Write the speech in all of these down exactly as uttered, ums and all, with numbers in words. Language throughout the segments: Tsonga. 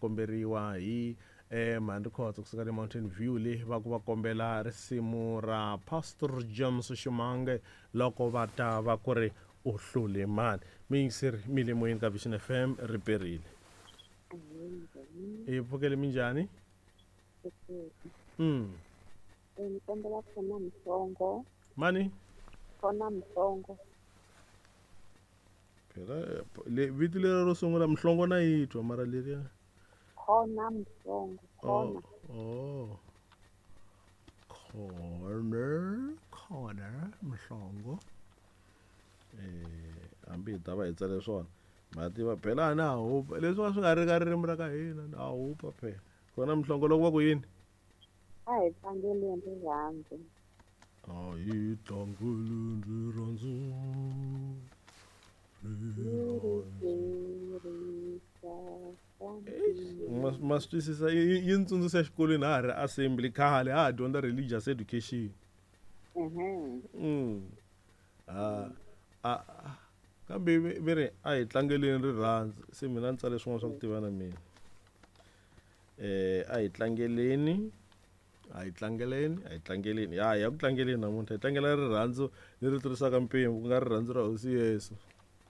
komberiwa hi eh Mhandi Khotso kusuka le Mountain View le va ku va kombela risimu ra Pastor James Shimange loko va ta va ku ri u hlule mani. Miyingiseri mi le moyeni ka Vision F M ri perile. I pfukele minjhani? Mm. Ni kombela khona Mhlongo. Mani? Khona Mhlongo. Phela le vito leri ro sungula Mhlongo na yi twa mara leriya. Khona Mhlongo. Khona. Oh. Corner, corner Mhlongo. Eh, hambi hi ta va hi tsale swona. Ma tiva phela na hupa leswi va swi nga ri ka ririmi ra ka hina na hupa phela. Khona Mhlongo loko va ku yini? A hi tlangeleni rirhandzu. A hi tlangeleni rirhandzu. Ma swi twisisa yi ni tsundzuxa exikolweni ha ha ri assembly khale ha ha dyondza religious education. Mm. Ah a kambe ve ri a hi tlangeleni rirhandzu se mina ni tsale swin'wana swa ku tiva na mina. Eh a hi tlangeleni a hi tlangeleni a hi tlangeleni ya ya ku tlangeleni namuntlha hi tlangela rirhandzu leri tlurisaka mpimo ku nga rirhandzu ra Hosi Yesu.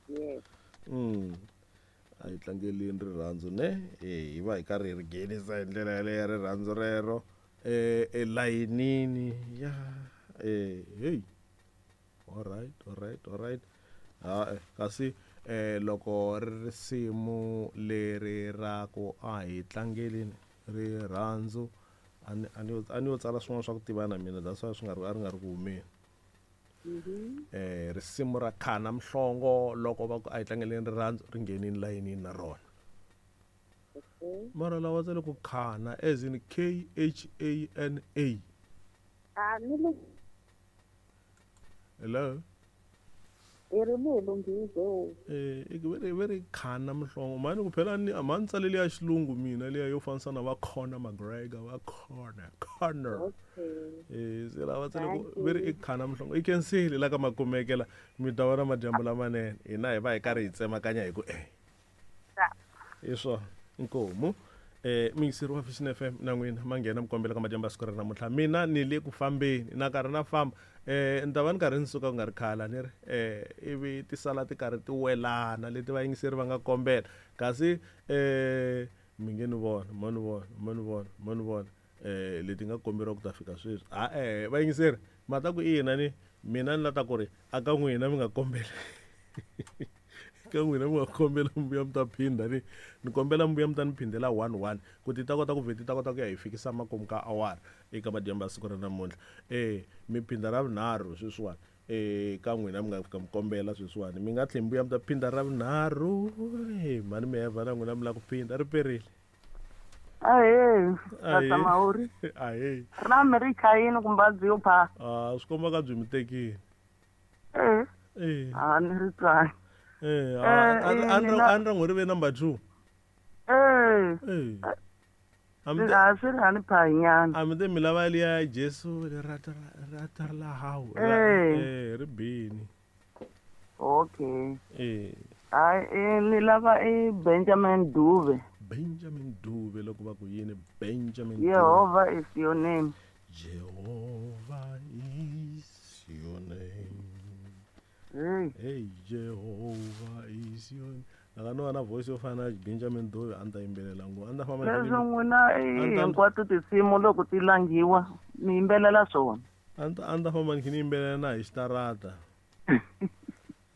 Yes. Mm. A hi tlangeleni rirhandzu ne eh hi va hi karhi hi ri nghenisa hi ndlela yaleyo rirhandzu rero eh elayinini ya eh hey. All right, all right, all right. Ha kasi eh loko risimu leri ra ku a hi tlangeleni rirhandzu ani ani ani yo tsala swin'wana swa ku tiva na mina that's why swi nga ri a ri nga ri ku humeni. Eh risimu ra Khana Mhlongo loko va ku a hi tlangeleni rirhandzu ri nghenini layinini na rona. Mara lawa tsale ku Khana as in K H A N A. Ah ni lu Hello. I ri mi lunghize. Eh i ve ve ri Khana Mhlongo mani ku phela ni a ma tsale liya xilungu mina liya yo fanisa na va Conor McGregor va Conor Conor. Eh se lava tsale ku ve ri i Khana Mhlongo i kenseli la ka makumekela mi ta vona madyambu lamanene hina hi va hi karhi hi tsemakanya hi ku eh. Hi swona inkomu. Eh miyingiseri wa Vision F M na n'wina ma nghena mi kombela ka madyambu ya siku ra namuntlha mina ni le ku fambeni na karhi na famba eh ni ta va ni karhi ni suka ku nga ri khala ni ri eh ivi ti sala ti karhi ti welana leti vayingiseri va nga kombela kasi eh mi nge ni vona mo ni vona mo ni vona mo ni vona eh leti nga komberiwa ku ta fika sweswi a eh vayingiseri ma ta ku ina ni mina ni la ta ku ri a ka n'wina mi nga kombeli ka n'wina mi nga kombela mbuya mi ta phinda ni ni kombela mbuya mi ta ni phindela one one ku ti ta kota ku vheti ta kota ku ya hi fikisa makumu ka awara eka madyambu ya siku ra namuntlha eh mi phinda ra vunharhu sweswiwani eh ka n'wina mi nga fika mi kombela sweswiwani mi nga tlheli mbuya mi ta phinda ra vunharhu eh mhani mi heva na n'wina mi lava ku phinda ri perile. Ahee Tata Mahuri. Ahee ra mi ri chayini kumbe a byi yo pha? Ah swi komba ka byi mi tekile. Eh eh a ni ri twangi. Eh, a ni ra n'wi ri ve number two. Eh. Eh. A swi ri hani phanyana. A mi te mi lava liya Jesu lerato ra la hao. Eh, ri bini. Okay. Eh. Ai eh ni lava i Benjamin Dube. Benjamin Dube loko va ku yini Benjamin Dube. Jehovah is your name. Jehovah is your name. Hey, hey Jehovah is your name. Aka no na voice yo fana Benjamin Dube a ni ta yimbelela ngopfu a ni ta famba leswi n'wina hinkwato tinsimu loko ti langiwa mi yimbelela swona. A ni ta a ni ta famba ni kha ni yimbelela na hi xitarata. A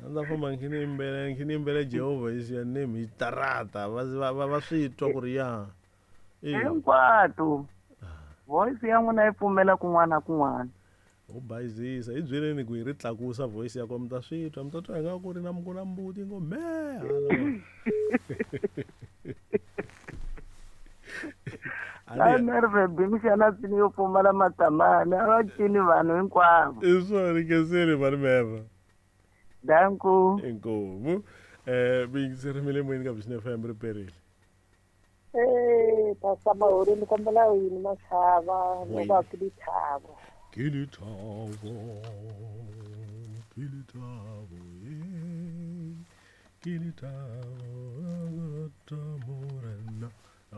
ni ta famba ni kha ni yimbelela ni kha ni yimbelela Jehovah is your name hi xitarata va va va swi twa ku ri ya. Hinkwato voice ya n'wina yi pfumela kun'wana na kun'wana. U bayizisa hi byeleni ku hi ri tlakusa voice ya kona mi ta swi twa mi ta twa ingaku ku ri na ku na mbuti ngo me hala. A nerve bimixana tsini yo pfumala matamani a va cini vanhu hinkwavo. I swona kenseli mani meva. Danku. Inkomu. Eh miyingiseri mi le moyeni ka Vision F M ri perile. Eh Pastor Mahuri ni kombela yini Mashava loko a ku lithavo. Ke lethabo, ke lethabo, eh, ke lethabo, morena.